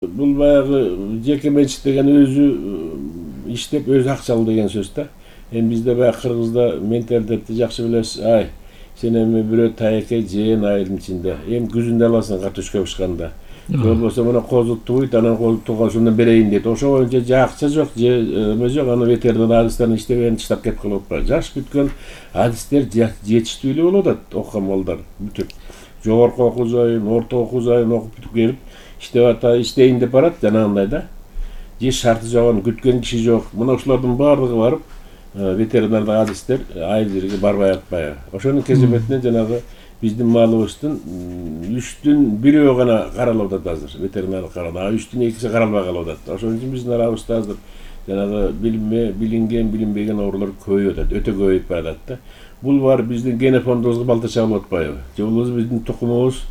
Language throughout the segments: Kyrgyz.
Бул баягы жеке менчик деген өзү иштеп өзү акча алуу деген сөз да. Эми бизде баягы кыргызда менталитетти жакшы билесиз. Сен эми бирөө тайеке жеен айылдын ичинде. Эми күзүндө аласың картошка бышканда. Болбосо мына козу тууйт, анан козу тугашынан берейин дейт. Ошо боюнча же акча жок, же эме жок, аны ветеринар адистерин иштебеген таштап кетип калып атпайбы. Жаш бүткөн адистер жетиштүү эле болуп атат, окуган балдар бүтүп. Жогорку окуу жайын, орто окуу жайын окуп бүтүп келип иштейин деп барат жанагындай да. Же шарты жок, күткөн киши жок. Мына ушулардын баардыгы барып ветеринардык адистер айыл жерге барбай атпайбы. Ошонун кеземетинен жанагы биздин малыбыздын 3-төн 1 гана каралып атат азыр. Ветеринардык каралып, 3-төн 2 каралбай калып атат. Ошон үчүн биздин арабызда азыр жанагы билинген, билинбеген оорулар көбөйүп атат, өтө көбөйүп баратат да. Бул бар биздин генофондубузга балта чабылып атпайбы? Же болбосо биздин тукумубуз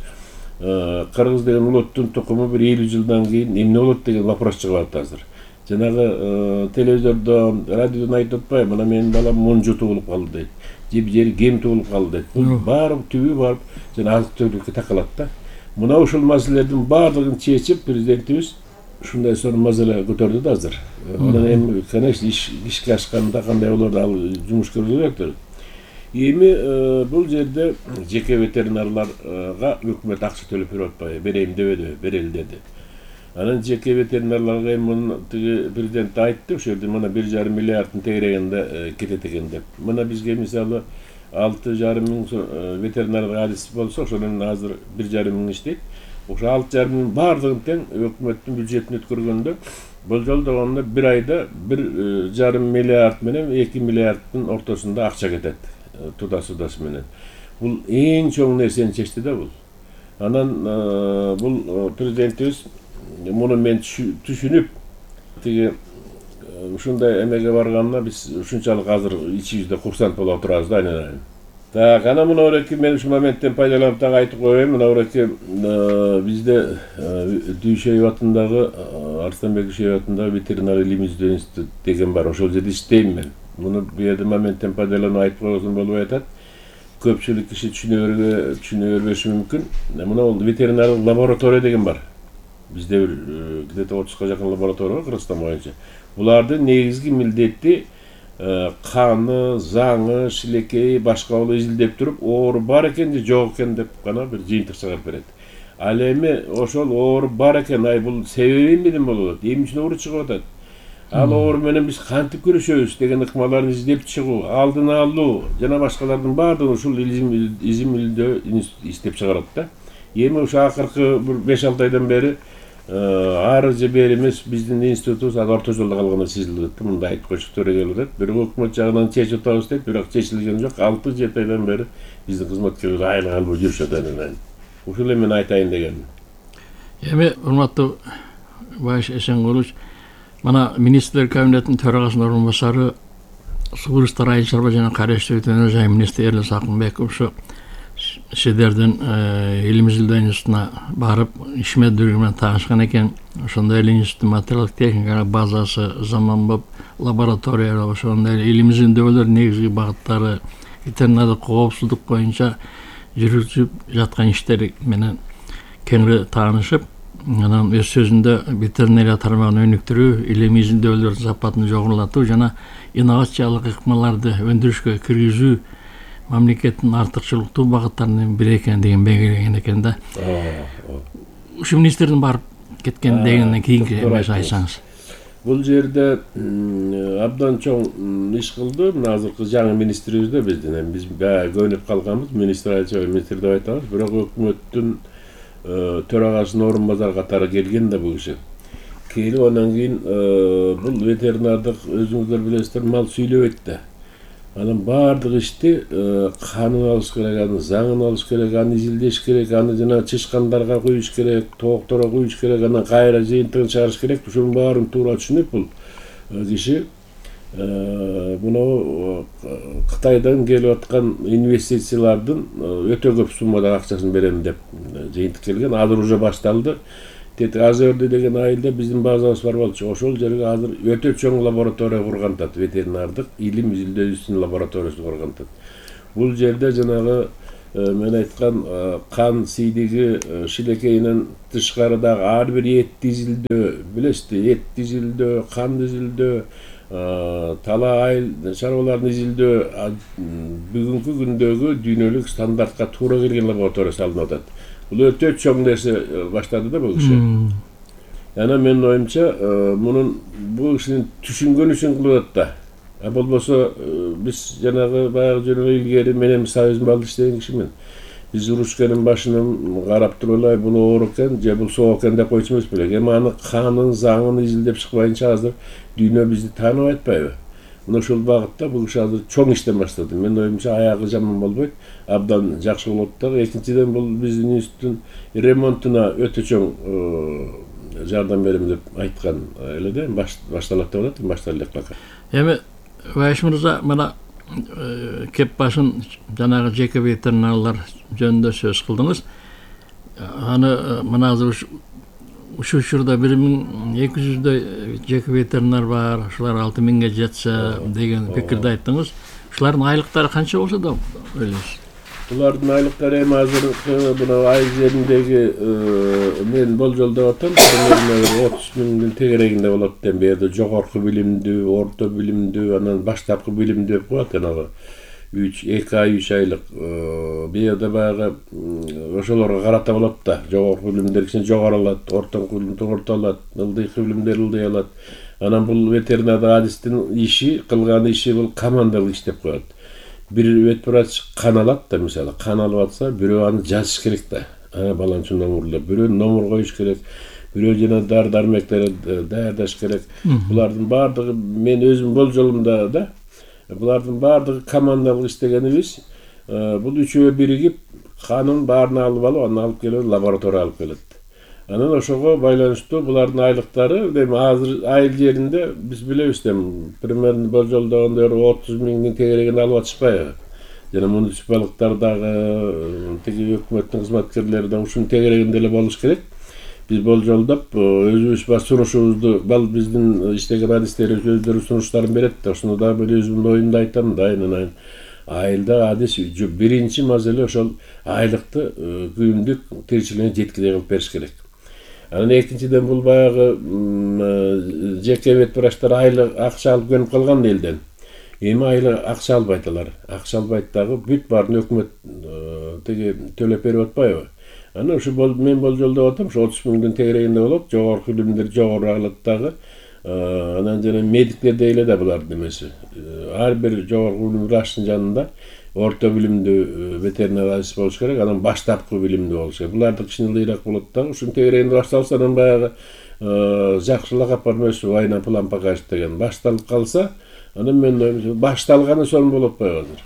кыргыз деген улуттун тукуму bir 50 жылдан кийин эмне болот деген вопрос чыгып атат азыр. Жанагы телевизордо, радиодон айтып атпайбы? Мына менин балам монжо туулуп калды дейт. Же кем туулуп калды дейт. Бул баары түбү барып жана азык түлүккө такалат да. Мына ушул маселелердин баардыгын чечип президентибиз ушундай сонун маселе көтөрдү да азыр. Анан эми конечно ишке ашканда кандай болор ал жумуш көрүлөт керек. Эми бул жерде жеке ветеринарларга өкмөт акча төлөп берип атпайбы? Берейин дебеди, берели деди. Анан жеке ветеринарларга эми муну президент айтты, ошол жерде мына 1,5 миллиарддын тегерегинде кетет экен деп. Мына бизге мисалы 6,5 миң ветеринардык адис болсо, ошонун азыр 1,5 миң иштейт. Ошо 6,5 миң баардыгын тең өкмөттүн бюджетин өткөргөндө болжол дегенде 1 айда 1,5 миллиард менен 2 миллиарддын ортосунда акча кетет. Тудасы менен. Бул эң чоң нерсени чечти да бул. Анан бул президентибиз муну мен түшүнүп тиги ушундай эмеге барганына биз ушунчалык азыр ичибизде курсант болуп турабыз да айнелер. Так, анан мына ореки мен ушул моменттен пайдаланып так айтып коеюн. Мына ореки бизде Дүйшөйүп атындагы Арыстанбек Дүйшөйүп атындагы ветеринар илим изилдөө институту деген бар. Ошол жерде иштейм мен. Муну бу жерде моменттен пайдаланып айтып койсом болбой атат. Көпчүлүк киши түшүнө бербеши мүмкүн. Мына бул ветеринардык лаборатория деген бар. Бизде где-то 30га жакын лаборатория бар Кыргызстан боюнча. Булардын негизги милдети каны, заңы, шилекейи, башка болуп изилдеп туруп, оору бар экен же жок экен деп гана бир жыйынтык чыгарып берет. Ал эми ошол оору бар экен, бул себеби эмнеден болуп атат? Эмне үчүн оору чыгып атат? Ал оору менен биз кантип күрөшөбүз деген ыкмаларды издеп чыгуу, алдын алуу жана башкалардын баардыгын ушул изим изилдөө иштеп чыгарат да. Эми ошо акыркы 5-6 айдан бери ары же бери эмес биздин институтубуз орто жолдо калгандай сезилип атат. Мындай айтып койчу төрөгөлөр дейт. Бирок өкмөт жагынан чечип атабыз дейт, бирок чечилген жок. 6-7 айдан бери биздин кызматкерлер айлык албай жүрүшөт анан. Ушул эми мен айтайын дегеним. Эми урматтуу Баш Эсенгулович, мына министрлер кабинетинин төрагасынын орун басары Суу иштер айыл чарба жана караштуу өтөнөр жай министри Эрлис Акынбеков ушу сиздердин илим изилдөө институтуна барып ишмердүүлүгү менен таанышкан экен. Ошондой эле институттун материалдык техникалык базасы, заманбап лаборатория, ошондой эле илим изилдөөлөр негизги багыттары, ветеринардык коопсуздук боюнча жүргүзүп жаткан иштери менен кеңири таанышып, анан өз сөзүндө ветеринария тармагын өнүктүрүү, илим изилдөөлөрдүн сапатын жогорулатуу жана инновациялык ыкмаларды өндүрүшкө киргизүү мамлекеттин артыкчылыктуу багыттарынын бири экен деген белгилеген экен да. Ушу министрдин барып кеткен дегенден кийинки эмес айтсаңыз. Бул жерде абдан чоң иш кылды. Мына азыркы жаңы министрибиз да биздин. Эми биз көнүп калганбыз, министр деп айтабыз. Бирок өкмөттүн төрагасынын орун базары катары келген да бул киши. Келип андан кийин бул ветеринардык өзүңүздөр билесиздер, мал сүйлөбөйт да. Анан баардык ишти канын алыш керек, аны заңын алыш керек, аны изилдеш керек, аны жана чычкандарга куюш керек, тоокторго куюш керек, анан кайра жыйынтыгын чыгарыш керек. Ушунун баарын туура түшүнүп бул киши мына Кытайдан келип аткан инвестициялардын өтө көп суммада акчасын берем деп жыйынтык келген. Азыр уже башталды. Азерди деген айылда биздин базабыз бар болчу. Ошол жерге азыр өтө чоң лаборатория кургантат, ветеринардык илим изилдөөчүнүн лабораториясын кургантат. Бул жерде жанагы мен айткан кан сийдиги шилекейинен тышкарыдагы ар бир эт дизилдөө, билесизби, эт дизилдөө, кан дизилдөө, талаа айыл чарбаларын изилдөө бүгүнкү күндөгү дүйнөлүк стандартка туура келген лаборатория салынып атат. Бул өтө чоң нерсе баштады да бул киши. Анан менин оюмча мунун бул кишинин түшүнгөн үчүн кылып атат да. Болбосо биз жанагы баягы жөнүгө илгери мен Союз балды иштеген кишимин. Биз урушкенин башынан карап туруп эле бул оор экен же бул соо экен деп койчу эмес белек. Эми аны канын, заңын изилдеп чыкпайынча азыр дүйнө бизди тааныбай атпайбы? Мына ушул багытта бул киши азыр чоң иштен баштады. Менин оюмча аягы жаман болбойт, абдан жакшы болот дагы. Экинчиден бул биздин институттун ремонтуна өтө чоң жардам берем деп айткан эле да, башталат деп атат, башталат элек. Эми Байыш мырза, мына кеп башын жанагы жеке ветеринарлар жөнүндө сөз кылдыңыз. Аны мына азыр ушул учурда 1200дөй жеке ветеринар бар, ушулар 6000ге жетсе деген пикирди айттыңыз. Ушулардын айлыктары канча болсо да ойлойсуз? Булардын айлыктары эми азыр мына айыл жериндеги мен болжолдоп атам, 30 миңдин тегерегинде болот деп. Берде жогорку билимдүү, орто билимдүү, анан баштапкы билимдүү деп коет анагы 2 ай 3 айлык. Бияда баягы ошолорго карата болот да. Жогорку билимдер кичине жогору алат, орто билимдер орто алат, ылдыйкы билимдер ылдый алат. Анан бул ветеринарда адистин иши, кылган иши бул командалык иш деп коет. Бир ветврач кан алат да, мисалы, кан алып атса, бирөө аны жазыш керек да. Баланчы номурлап, бирөө номур коюш керек, бирөө жана дары-дармектерди даярдаш керек. Булардын баардыгы мен өзүм болжолумда да, булардын баардыгы командалык иштегенибиз. Бул үчөө биригип канын баарын алып анан алып келип лабораторияга алып келет. Анан ошого байланыштуу булардын айлыктары эми азыр айыл жеринде биз билебиз да, примерно болжолдогондор 30 миңдин тегерегинде алып атышпайбы? Жана муниципалдыктардагы тиги өкмөттүн кызматкерлери да ушунун тегерегинде эле болуш керек. Биз болжолдоп өзүбүз бар сунушубузду, биздин иштеген адистерибиз өздөрү сунуштарын берет да, ошону да мен өзүмдүн оюмду айтам да, айнын айылда адис биринчи маселе ошол айлыкты күндүк тиричилигине жеткилей кылып бериш керек. Анан экинчиден бул баягы жеке ветврачтар айлык акча алып көнүп калган элден. Эми айлык акча албайт алар. Акча албайт дагы бүт баарын өкмөт тиги төлөп берип атпайбы? Анан ушу мен болжолдоп атам, ушу 30 миңдин тегерегинде болот, жогорку билимдер жогору алат дагы. Анан жана медиктер дейле да булардын эмеси. Ар бир жогорку билим врачтын жанында орто билимдүү ветеринар адис болуш керек, анан баштапкы билимдүү болуш керек. Буларды кичине ылдыйраак болот дагы. Ушунун тегерегинде башталса, анан баягы жакшылык апармайсыз, война план покажет деген башталып калса, анан мен оюмча башталганы сонун болуп атпайбы азыр.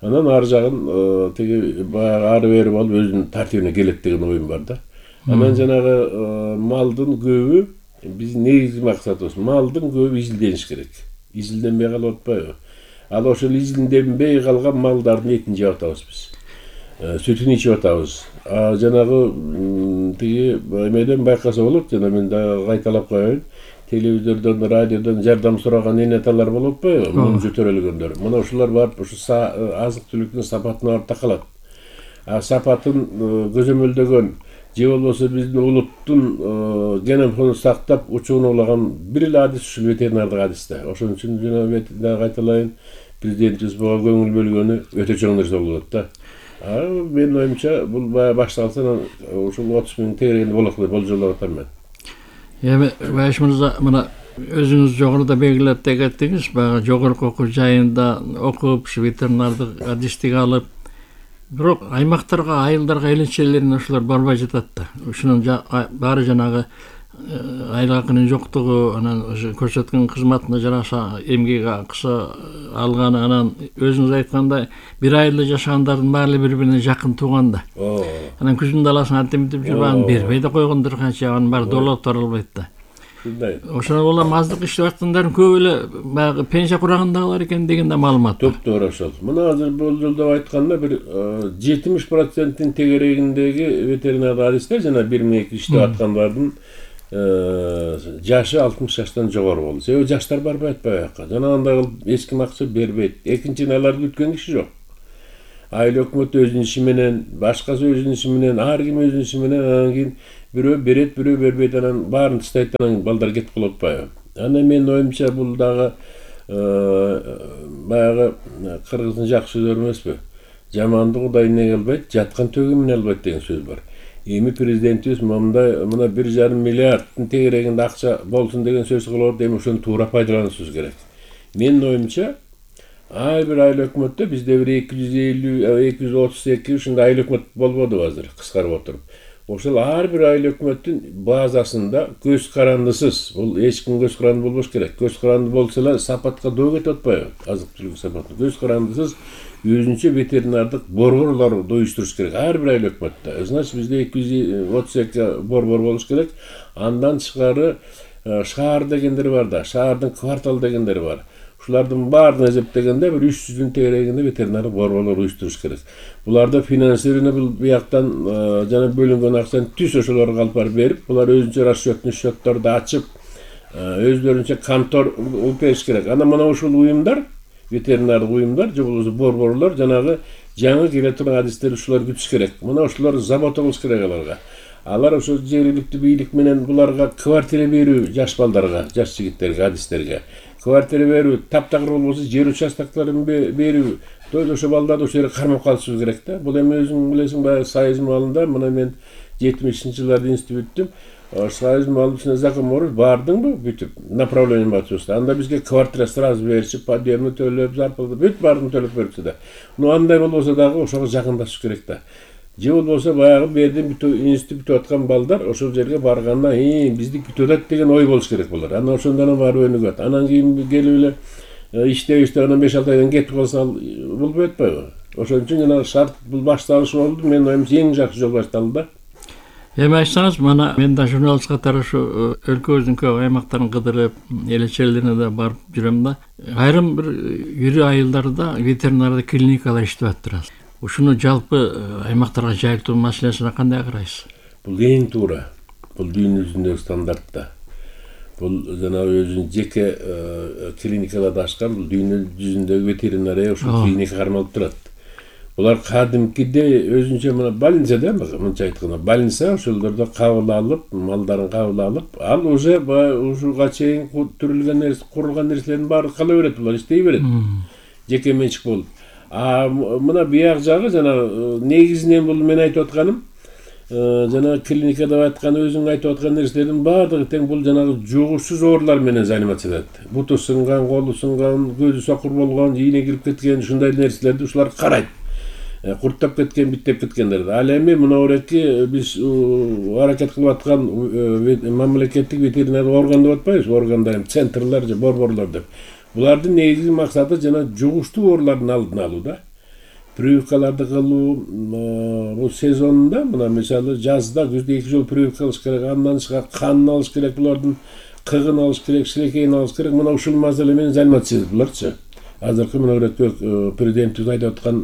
Анан ар жагын тиги баягы ары бери болуп өзүнүн тартибине келет деген оюм бар да. Анан жанагы малдын көбү биздин негизги максатыбыз малдын көбү изилдениш керек. Изилденбей калып атпайбы? Ал ошол изилденбей калган малдардын этин жеп атабыз биз. Сүтүн ичип атабыз. Жанагы тиги эмеден байкаса болот, жана мен да кайталап коеюн. Телевизордон, радиодон жардам сураган энеталар болуп атпайбы? Мунжу төрөлгөндөр. Мына ушулар барып ушу азык-түлүктүн сапатына барып такалат. Сапатын көзөмөлдөгөн же болбосо биздин улуттун генофондун сактап учууну улаган бир эле адис ушул ветеринардык адис да. Ошон үчүн жана ветеринар кайталайын, президентибиз буга көңүл бөлгөнү өтө чоң нерсе болуп атат да. Менин оюмча бул башталса ушул 30 миң тегерегинде болот деп болжолдоп атам мен. Эми Байыш мырза, мына өзүңүз жогоруда белгилеп кеттиңиз, баягы жогорку окуу жайында окуп, ветеринардык адистик алып, бирок аймактарга, айылдарга эленчелерин ошолор барбай жатат да. Ушунун баары жанагы айлык акынын жоктугу, анан көрсөткөн кызматына жараша эмгек акысы алганы, анан өзүңүз айткандай бир айылда жашагандардын баары бири-бирине жакын тууган да. Анан күздүн даласын антемитип жүрүп анан бербей да койгондор канча, анын баары долоп тора албайт да. Ошондо улам аздык иштеп аткандардын көбү эле баягы пенсия курагындагылар экен деген да маалымат бар. Топтор ошол. Мына азыр болжолдоп айтканда бир 70%-тин тегерегиндеги ветеринар адистер жана 1200 иштеп аткандардын жашы 60 жаштан жогору болду. Себеби жаштар барбай атпайбы аяка. Жана андай кылып эч ким акча бербейт. Экинчиден аларды күткөн киши жок. айыл өкмөт өзүнүн иши менен, башкасы өзүнүн иши менен, ар ким өзүнүн иши менен, анан кийин бирөө берет, бирөө бербейт, анан баарын тастайт, анан балдар кетип калып атпайбы. Анан менин оюмча бул дагы баягы кыргыздын жакшы сөзү эмеспи? Жаманды Кудай эмне кылбайт, жаткан төгүмүн албайт деген сөз бар. Эми президентибиз мына 1,5 миллиарддын тегерегинде акча болсун деген сөз кылып, эми ошону туура пайдаланышыбыз керек. Менин оюмча ар бир айыл өкмөттө бизде бир 250-232 ушундай айыл өкмөт болбоду азыр кыскарып отуруп. Ошол ар бир айыл өкмөттүн базасында көз карандысыз, бул эч ким көз каранды болбош керек. Көз каранды болсо эле сапатка доо кетип атпайбы? Азык түлүк сапаты. Көз карандысыз өзүнчө ветеринардык борборлорду уюштуруш керек ар бир айыл өкмөттө. Значит, бизде 232 борбор болуш керек. Андан тышкары шаар дегендер бар да, шаардын квартал дегендер бар. Ушулардын баарын эсептегенде бир 300-дүн тегерегинде ветеринардык борборлор уюштуруш керек. Буларда финансирование бияктан жана бөлүнгөн акчаны түз ошолорго алып барып берип, булар өзүнчө расчетный счетторду ачып, өздөрүнчө контор уюп бериш керек. Анан мына ушул уюмдар, ветеринардык уюмдар же болбосо борборлор жанагы жаңы келе турган адистер ушулар күтүш керек. Мына ушулар забота кылыш керек аларга. Алар ошо жергиликтүү бийлик менен буларга квартира берүү, жаш балдарга, жаш жигиттерге, адистерге квартира берүү, таптакыр болбосо жер участокторун берүү. Ошо балдарды ошол жерге кармап калышыбыз керек да. Бул эми өзүң билесиң, баягы Союз маалында, мына мен 70-жылдарда институт бүттүм. Союз маалында закон бар, бардыңбы бүтүп, направление матчуста. Анда бизге квартира сразу беришип, подъемный төлөп, зарплата бүт баарын төлөп беришти да. Ну андай болбосо дагы ошого жакындашыш керек да. Же болбосо баягы берден институт бүтүп аткан балдар ошол жерге барганда, бизди күтүп атат деген ой болуш керек булар. Анан ошондон барып өнүгөт. Анан кийин келип эле иштеп анан 5-6 айдан кетип калса болбой атпайбы? Ошон үчүн жана шарт бул башталыш болду. Менин оюмча эң жакшы жол башталды да. Эми айтсаңыз, мына мен да журналист катары ушу өлкөбүздүн көп аймактарын кыдырып, эл черлерине да барып жүрөм да. Айрым бир ири айылдарда ветеринардык клиникалар иштеп атат. Ушуну жалпы аймактарга жайылтуу маселесине кандай карайсыз? Бул эң туура. Бул дүйнө жүзүндөгү стандарт да. Бул жана өзүнүн жеке клиникаларды ачкан, бул дүйнө жүзүндөгү ветеринария ушул клиника кармалып турат. Булар кадимкиде өзүнчө мына больницада, мынча айтканда, больница ошолдордо кабыл алып, малдарын кабыл алып, ал уже ушуга чейин түрүлгөн нерсе, курулган нерселердин баары кала берет, булар иштей берет. Жеке менчик болуп. Мына бияк жагы жана негизинен бул мен айтып атканым, жана клиникада айткан өзүң айтып аткан нерселердин баардыгы тең бул жанагы жугушсуз оорулар менен заниматься этет. Буту сынган, колу сынган, көзү сокур болгон, ийне кирип кеткен, ушундай нерселерди ушулар карайт. Курттап кеткен, биттеп кеткендерди. Ал эми мына ореки биз аракет кылып аткан мамлекеттик ветеринардык орган деп атпайбызбы? Органдар, центрлер же борборлор деп. Булардын негизги максаты жана жугуштуу оорулардын алдын алуу да. Прививкаларды кылуу, бул сезонунда, мына мисалы жазда, күздө 2 жолу прививка кылыш керек, андан тышкары канын алыш керек, булардын кыгын алыш керек, шилекейин алыш керек. Мына ушул маселе менен заниматься буларчы. Азыркы мына президентибиз айтып аткан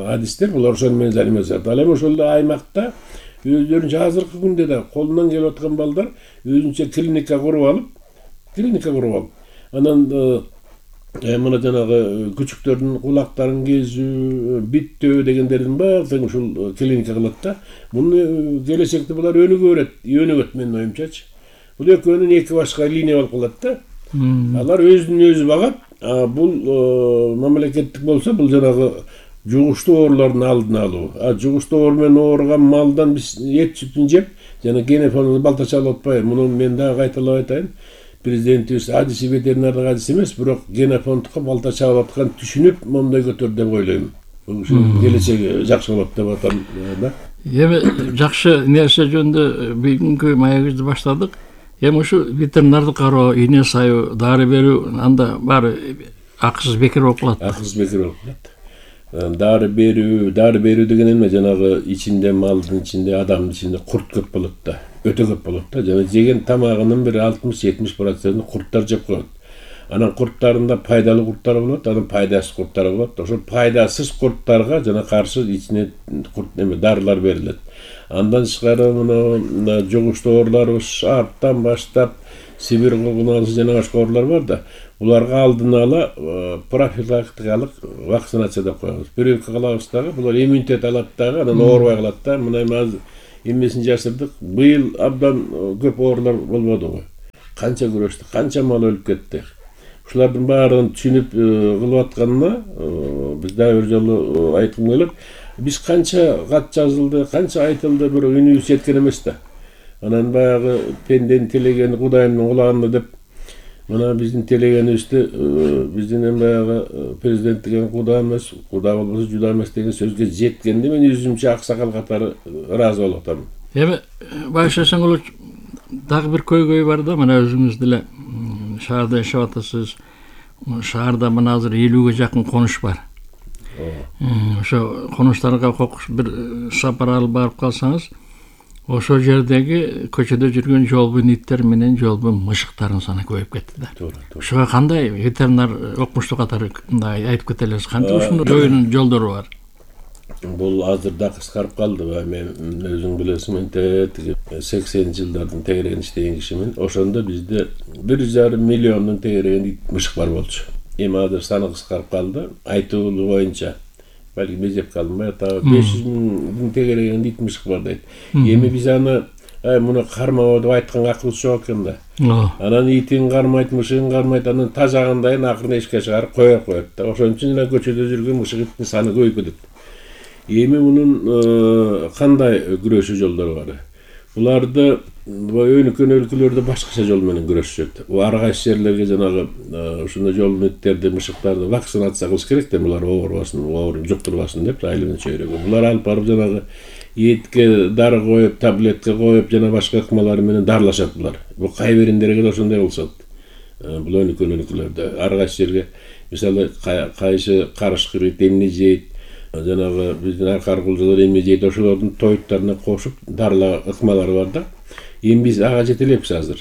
адистер, булар ошол менен заниматься этет. Ал эми ошол аймакта өздөрүнчө азыркы күндө да колунан келип аткан балдар өзүнчө клиника куруп алып, анан мына жанагы күчүктөрдүн кулактарын кезүү, биттөө дегендердин баарын ушул клиника кылат да. Муну келечекте булар өнүгөт менин оюмчачы. Бул экөөнүн эки башка линия болуп калат да. Алар өзүн өзү багат. Бул мамлекеттик болсо, бул жанагы жугуштуу оорулардын алдын алуу. Жугуштуу оору менен ооруган малдан биз эт сүтүн жеп, жана генофондун балта алып атпайбы. Муну мен дагы кайталап айтайын. Президентибиз адиси ветеринардык адис эмес, бирок генофондко балта чабып аткан түшүнүп, моундай көтөр деп ойлойм. Ушул келечеги жакшы болот деп атам да. Эми жакшы нерсе жөнүндө бүгүнкү маегибизди баштадык. Эми ушу ветеринардык кароо, ийне саюу, дары берүү, анда баары акысыз бекер болуп калат. Акысыз бекер болуп калат. Дары берүү деген эме, жанагы ичинде, малдын ичинде, адамдын ичинде курт көп болот да. Өтө көп болот да. Жана жеген тамагынын бир 60-70% курттар жеп коет. Анан курттарында пайдалуу курттар болот, анан пайдасыз курттар болот. Ошо пайдасыз курттарга жана каршы ичине дарылар берилет. Андан тышкары мына жугуштуу оорулар шарптан баштап Сибирь кулгуналысы жана башка оорулар бар да. Буларга алдын ала профилактикалык вакцинация деп коебуз. Прививка кылабыз дагы, булар иммунитет алат дагы, анан оорубай калат да. Мына азыр эмесин жашырдык. Быйыл абдан көп оорулар болбодубу? Канча күрөштүк, канча мал өлүп кетти. Ушулардын баарын түшүнүп кылып атканына биз дагы бир жолу айткым келет. Биз канча кат жазылды, канча айтылды, бирок үнүбүз жеткен эмес да. Анан баягы пенденин телегени Кудайымдын кулагында деп, мына биздин телегенибизде биздин баягы президент деген Куда эмес, Куда болбосо Жуда эмес деген сөзгө жеткенде мен өзүмчө аксакал катары ыраазы болуп атам. Эми Байш Эсенгулович, дагы бир көйгөй бар да, мына өзүңүз деле шаарда жашап атасыз. Шаарда мына азыр 50-ге жакын конуш бар. Ошо конуштарга бир сапар алып барып калсаңыз, ошол жердеги көчөдө жүргөн жолбун иттер менен жолбун мышыктардын саны көбөйүп кетти да. Ошого кандай ветеринар окумуштуу катары айтып кете элесиз? Кантип ушунун жоюунун жолдору бар? Бул азыр да кыскарып калды. Мен өзүң билесиң, мен 80-жылдардын тегерегин иштеген кишимин. Ошондо бизде 1,5 миллиондун тегереген ит мышык бар болчу. Эми азыр саны кыскарып калды. Айтуу боюнча балки безеп калдым, 500 миңдин тегереген ит мышык бар дейт. Эми биз аны муну кармабоо деп айтканга акыбыз жок экен да. Анан итин кармайт, мышыгын кармайт, анан тажагандайын акырын эшикке чыгарып коет да. Ошон үчүн эле көчөдө жүргөн мышык иттин саны көбөйүп кетет. Эми мунун кандай күрөшүү жолдору бар? Буларды өнүккөн өлкөлөрдө башкача жол менен күрөшүшөт. Ар кайсы жерлерге жанагы ушундай жолдун иттерди, мышыктарды вакцинация кылыш керек да, булар оорубасын, оорун жуктурбасын деп айылын чөйрөгө. Булар алып барып жанагы этке дары коюп, таблетка коюп, жана башка ыкмалары менен дарылашат булар. Бул кай бириндерге да ошондой болсот. Бул өнүккөн өлкөлөрдө ар кайсы жерге, мисалы кайсы карышкыр ит эмне жейт, жанагы биздин аркар кулжалар эмне жейт, ошолордун тоюттарына кошуп дарылаа ыкмалары бар да. Эми биз ага жете элекпиз азыр.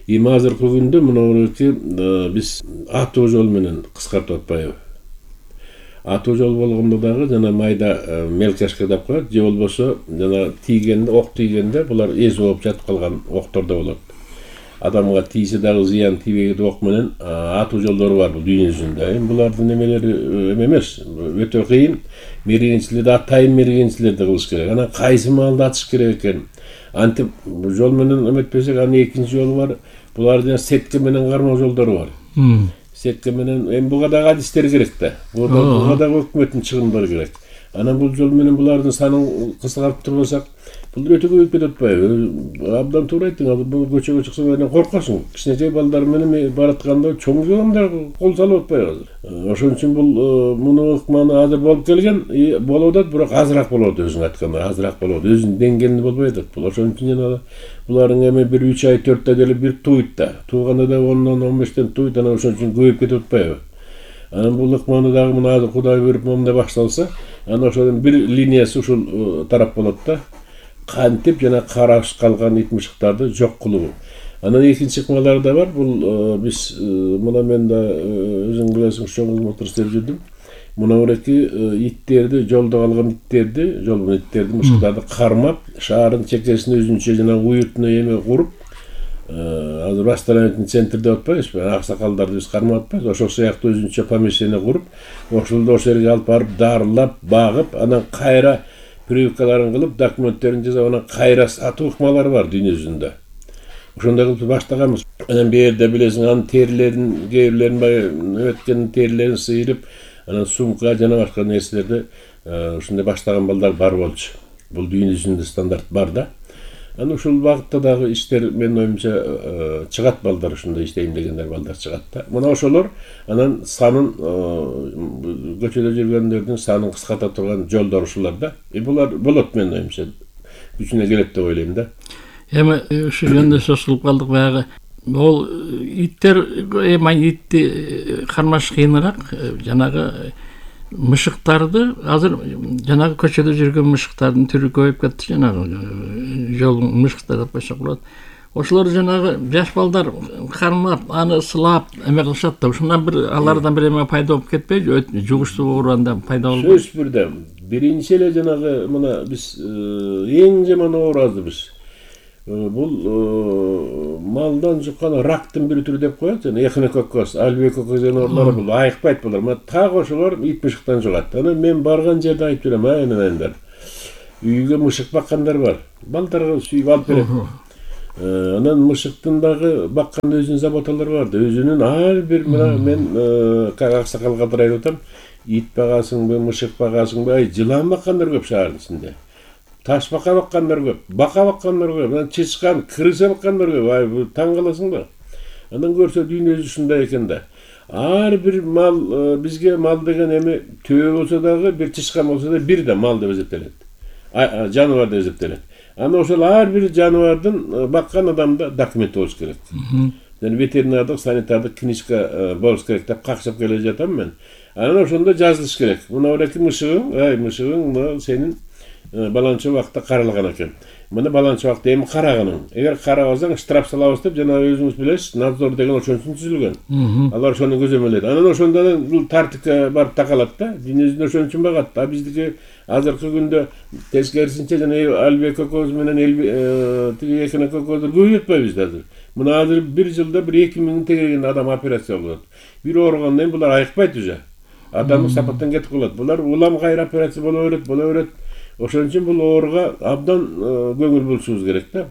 Эми азыркы күндө мына биз атуу жол менен кыскартып атпайбы? Атуу жол болгондо дагы жана майда мелкашка деп коет, же болбосо жана тийгенде, ок тийгенде булар эз болуп жатып калган октор да болот. Адамга тийсе дагы зыян тийбейт ок менен атуу жолдору бар бул дүйнө жүзүндө. Эми булардын эмелери эмес, өтө кыйын. Мергенчилерди атайын мергенчилерди кылыш керек. Анан кайсы маалда атыш керек экен? Антип жол менен эметпесек, анын экинчи жолу бар. Булардын сетке менен кармоо жолдору бар. Сетке менен эми буга дагы адистер керек да. Буга дагы өкмөттүн чыгымдары керек. Анан бул жол менен булардын санын кыскартып турбасак, бул өтө көбөйүп кетип атпайбы? Абдан туура айттың. Азыр бул көчөгө чыксаң анан коркосуң. Кичинекей балдар менен баратканда чоң адамдар кол салып атпайбы азыр? Ошон үчүн бул муну ыкманы азыр болуп келген, болуп атат, бирок азыраак болот, өзүң айткандай, азыраак болот. Өзүнүн деңгээлинде болбой атат. Бул ошон үчүн жана булардын эми 1-3 ай 4 айда эле бир туйт да. Тууганда да 10-15тен туйт, анан ошон үчүн көбөйүп кетип атпайбы? Анан бул ыкманы дагы мына азыр Кудай буйруп момундай башталса, анан ошонун бир линиясы ушул тарап болот да. Кантип жана караш калган ит мышыктарды жок кылуу. Анан экинчи ыкмалар да бар. Бул биз мына мен да өзүң билесиң, чоң кызмат иштеп жүрдүм. Мына буреки иттерди, жолдо калган иттерди, жолбун иттерди, мышыктарды кармап, шаардын чекесине өзүнчө жана уютуна эме куруп, азыр восстановительный центр деп атпайбызбы? Аксакалдарды биз кармап атпайбыз. Ошол сыяктуу өзүнчө помещение куруп, ошолду ошол жерге алып барып дарылап, багып, анан кайра прививкаларын кылып, документтерин жасап, анан кайра сатуу ыкмалары бар дүйнө жүзүндө. Ошондой кылып баштаганбыз. Анан бу жерде билесиң, анын терилерин, кээ бирлерин өткөн терилерин сыйрып, анан сумка жана башка нерселерди ушундай баштаган балдар бар болчу. Бул дүйнө жүзүндө стандарт бар да. Анан ушул багытта дагы иштер менин оюмча чыгат, балдар ушундай иштейм дегендер балдар чыгат да. Мына ошолор анан санын көчөдө жүргөндөрдүн санын кыскарта турган жолдор ушулар да. Булар болот менин оюмча. Күчүнө келет деп ойлойм да. Эми ушул жөнүндө сөз кылып калдык баягы. Ол иттер итти кармаш кыйыныраак, жанагы мышыктарды азыр жанагы көчөдө жүргөн мышыктардын түрү көбөйүп кетти, жанагы жол мышыктар деп койсок болот. ошолор жанагы жаш балдар кармап, аны сылап эме кылышат да. Ушундан бир алардан бир эме пайда болуп кетпейби? Жугуштуу оору пайда болбойбу? Сөз бирде. Биринчи эле жанагы мына биз эң жаман оорубуз. Бул малдан жуккан рактын бир түрү деп коет. Жана эхинококкоз, альбиококкоз деген оорулар бул айыкпайт булар. Мына так ошолор ит мышыктан жугат. Анан мен барган жерде айтып берем, айнандар. Үйгө мышык баккандар бар. Балдарга сүйүп алып берет. Анан мышыктын дагы баккан өзүнүн заботалары бар да. Өзүнүн ар бир мына мен аксакалга айтып атам. Ит багасыңбы, мышык багасыңбы? Жылан баккандар көп шаардын ичинде. Таш бака баккандар көп, бака баккандар көп, анан чычкан, крыса баккандар көп. Бул таң каласың да. Анан көрсө дүйнөсү ушундай экен да. Ар бир мал бизге мал деген эми төө болсо дагы, бир чычкан болсо да бир да мал деп эсептелет. Жаныбар деп эсептелет. Анан ошол ар бир жаныбардын баккан адамда документ болуш керек. Жана ветеринардык, санитардык книжка болуш керек деп какшап келе жатам мен. Анан ошондо жазылыш керек. Мына ореки мышыгың, мышыгың мына сенин баланча убакытта каралган экен. Мына баланча убакытта эми караганың. Эгер карабасаң штраф салабыз деп жана өзүңүз билесиз, надзор деген ошон үчүн түзүлгөн. Алар ошону көзөмөлөйт. Анан ошондон бул тартипке барып такалат да. Дүйнөсүндө ошон үчүн багат. Биздики азыркы күндө тескерисинче жана альбиококкоз менен тиги эхинококкоздор көбөйүп атпайбыз азыр. Мына азыр бир жылда 1-2 тегерген адам операция болот. Бир ооругандан кийин булар айыкпайт уже. Адамдык сапаттан кетип калат. Булар улам кайра операция боло берет. Ошон үчүн бул ооруга абдан көңүл бурушубуз керек да.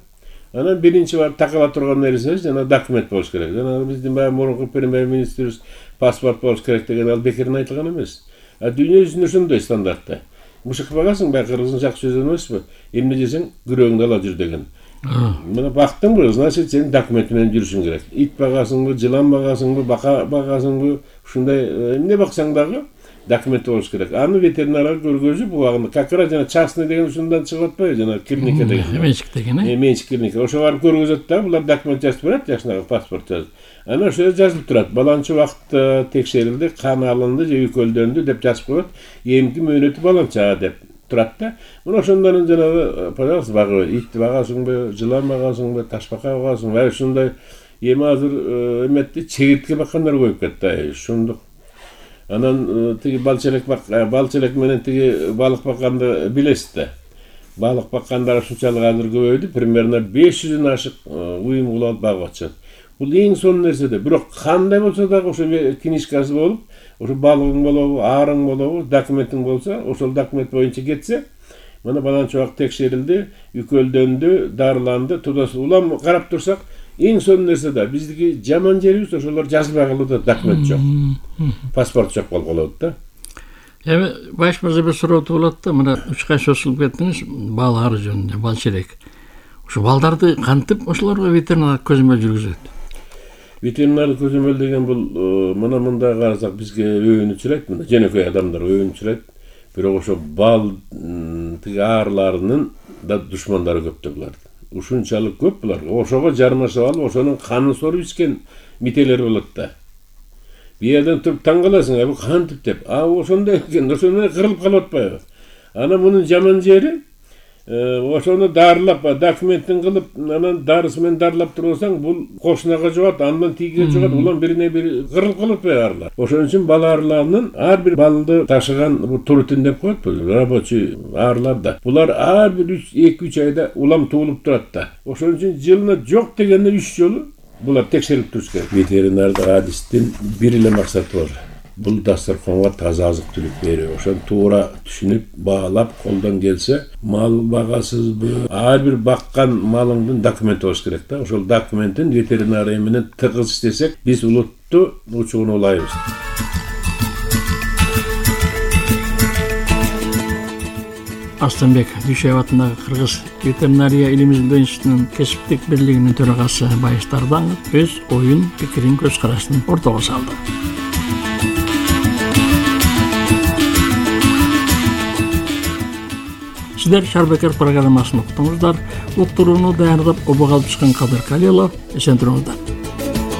Анан биринчи барып такала турган нерсе жана документ болуш керек. Жана биздин баягы мурунку премьер-министрибиз паспорт болуш керек деген ал бекерден айтылган эмес. Дүйнө жүзүндө ошондой стандартта. Мышык багасың, баягы кыргыздын жакшы сөзү эмеспи? Эмне жесең күрөгүңдү ала жүр деген. Мына бактыңбы, значит сен документ менен жүрүшүң керек. Ит багасыңбы, жылан багасыңбы, бака багасыңбы, ушундай эмне баксаң дагы документ болуш керек. Аны ветеринарга көргөзүп, убагында как раз жана частный деген ушундан чыгып атпайбы, жана клиника деген. Менчик деген, менчик клиника. Ошо барып көргөзөт да, булар документ жазып берет, жакшынакы паспорт жазып. Анан ошо жазылып турат. Баланча убакытта текшерилди, кан алынды же үйкөлдөнү деп жазып коет. Эмки мөөнөтү баланча деп турат да. Мына ошондон жанагы, пожалуйста, багы, ит багасыңбы, жылан багасыңбы, ташбака багасыңбы, ушундай эми азыр эметти чегиртке баккандар көбөйүп кетти. Ушундук. Анан тиги балчелек менен тиги балык бакканды билесиз да. Балык баккандар ушунчалык азыр көбөйдү. Примерно 500дөн ашык уюм кылып багып атышат. Бул эң сонун нерсе да. Бирок кандай болсо дагы ошо книжкасы болуп, ошо балыгың болобу, арың болобу, документиң болсо, ошол документ боюнча кетсе, мына баланча убакыт текшерилди, үйкөлдөнү, дарыланды, тудасы улам карап турсак, эң сонун нерсе да. Биздики жаман жерибиз ошолор жазылбай калды да, документ жок. Паспорт жок болуп калат да. Эми баш мырза бир суроо туулат да, мына 3 созулуп кеттиңиз балдар жөнүндө, балчелек. Ошо балдарды кантип ошолорго ветеринар көзөмөл жүргүзөт? Ветеринар көзөмөл деген бул мына мында карасак бизге өөнүчүрөйт, мына жөнөкөй адамдар өөнүчүрөйт. Бирок ошо бал тиги аарыларынын да душмандары көп да булар. Ушунчалык көп булар. Ошого жармашып алып, ошонун канын соруп ичкен мителер болот да. Бияден туруп таң каласың, бул кантип деп. Ошондой экен, ошондой кырылып калып атпайбы? Анан мунун жаман жери ошону дарылап, документтин кылып, анан дарысы менен дарылап турсаң, бул кошунага жугат, андан тигиге жугат, улам бирине бири кырылып калып атпайбы аарылар. Ошон үчүн бал аарыларынын ар бир балды ташыган бул турутин деп коет, рабочий аарылар да. Булар ар бир 2-3 айда улам туулуп турат да. Ошон үчүн жылына жок дегенде 3 жолу булар текшерип туруш керек. Ветеринардык адистин бир эле максаты бар. Бул дасторконго таза азык-түлүк берүү. Ошону туура түшүнүп, баалап, колдон келсе, мал багасызбы, ар бир баккан малыңдын документи болуш керек да. Ошол документин ветеринария менен тыгыз иштесек, биз улутту учугун улайбыз. Астанбек Дүйшөев атындагы Кыргыз ветеринария илим-изилдөө институтунун кесиптик бирлигинин төрагасы Байыш Дардаңов өз оюн, пикирин, көз карашын ортого салды. Сиздер Шарбекер программасын уктуңуздар. Уктурууну даярдап, обого алып чыккан Кадыр Калилов. Эсен туруңуздар.